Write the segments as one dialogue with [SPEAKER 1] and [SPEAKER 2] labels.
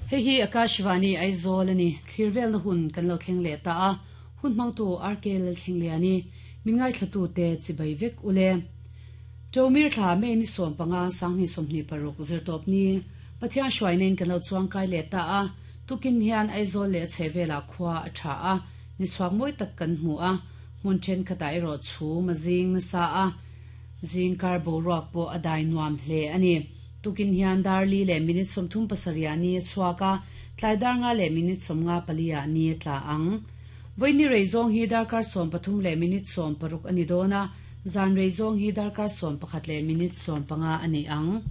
[SPEAKER 1] Hei hi Akashvani Aizawl a ni. Thlir velna hun kan lo thleng leh ta a, hun hmangtu RK Lalthlengliani, min ngaithlatute chibai vek u le. Ṭomir thla May ni 15 2026 zirtawp ni Pathian hruainain kan lo chuangkai leh ta a, tukin hian Aizawl leh a chhehvelah khua a ṭha a, ni chhuak mawi tak kan hmu a, hmun ṭhenkhatah erawh chhum a zing nasa a, zingkar boruak pawh a dai nuam hle a ni. Tukin hian dar li leh minute 37 ah ni a chhuak a, tlai dar nga leh minute 54 ah ni a tla ang. Vawiin rei zawng hi darkar 13 leh minute 16 a ni dawn a, zan rei zawng hi darkar 11 leh minute 15 a ni ang.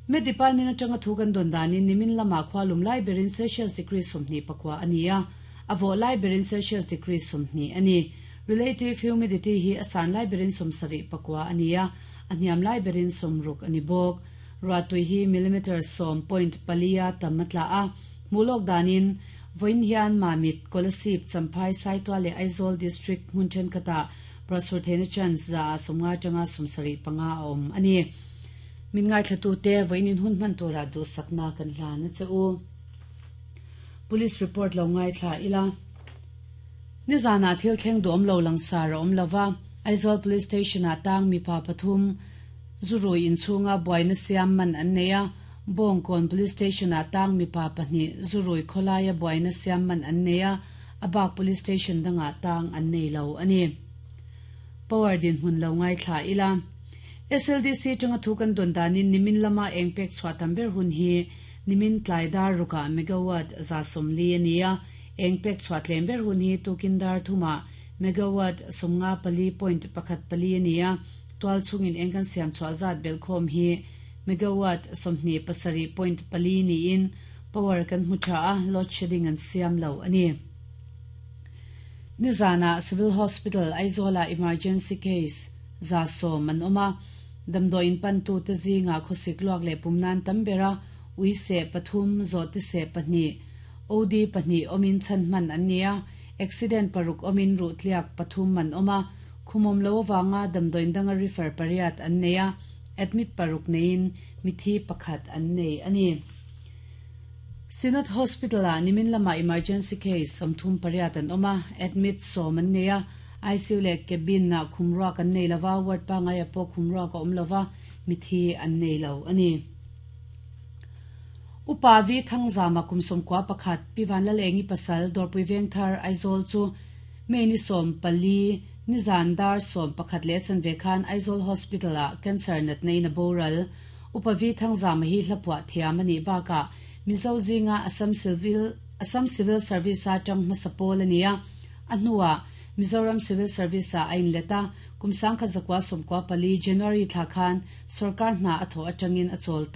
[SPEAKER 1] Met Department atanga thu kan dawn danin nimin lamah khua lum lai berin Celsius degree 29 a ni a, a vawh lai berin Celsius degree 20 a ni. Relative humidity hi a san lai berin 74 a ni a, a hniam lai berin 60 a ni bawk. Ruahtui hi millimeter sawm point pali a tam a tla a, hmuh lawk danin vawiin hian Mamit, Kolasib, Champhai, Saitual leh Aizawl District hmun thenkhatah ruahsur theihna chance 50% atanga 75% a awm a ni. Min ngaithlatute vawiin in hun hman turah duhsakna kan hlan a che u. Police report lo ngaithla ila. Nizanah thil thleng duhawm lo langsar a awm lova, Aizawl Police Station-ah tang mipa pathum zurui inchhunga buaina siam man an nei a, Bawngkawn Police Station-ah tang mipa pahnih zurui khawlaia buaina siam man an nei a, a bak Police Station dangah tang an nei lo a ni. Power dinhmun lo ngaithla ila. SLDC tanga thu kan dawn danin nimin lama eng pek chhuah tam ber hun hi nimin tlai dar rukah megawatt 140 a ni a, eng pek chhuah tlem ber hun hi tukin dar thumah megawatt 54.14 a ni a, tual chungin eng kan siam chhuah zat belhkhawm hi megawatt 27.4 niin power kan hmu tha a, load shedding an siam lo a ni. Nizanah Civil Hospital Aizawlah emergency case 100 an awm a, damdawiin pantute zingah khawsik luak leh pum nan tam ber a, ui seh pathum, zawhte seh pahnih, OD pahnih awmin chhan hman an ni a, accident paruk awmin ruh tliak pathum an awm a, khumawm lo avanga damdawiin danga refer pariat an nei a, admit paruk neiin mithi pakhat an nei a ni. Synod Hospital-ah nimin lamah emergency case 38 an awm a, admit sawm an nei a, ICU leh cabin-ah khumruak an nei lova, ward pangaiah pawh khumruak a awm lova, mithi an nei lo a ni. Upa Vi Thangzama kum 91 Pi Vanlalengi pasal Dawrpui Vengthar Aizawl chu May ni 14 nizan dar 11 leh chanve khan Aizawl Hospital-ah cancer natna in a boral. Upa Vi Thangzama hi hlapuah thiam a nih bakah Mizo zinga Assam Civil Assam Civil Service-a tang hmasa pawl a ni a, a hnuah Mizoram Civil Service-ah a inlet a, kum 1994 January thla khan sorkar hna a thawh atangin a chawl ta.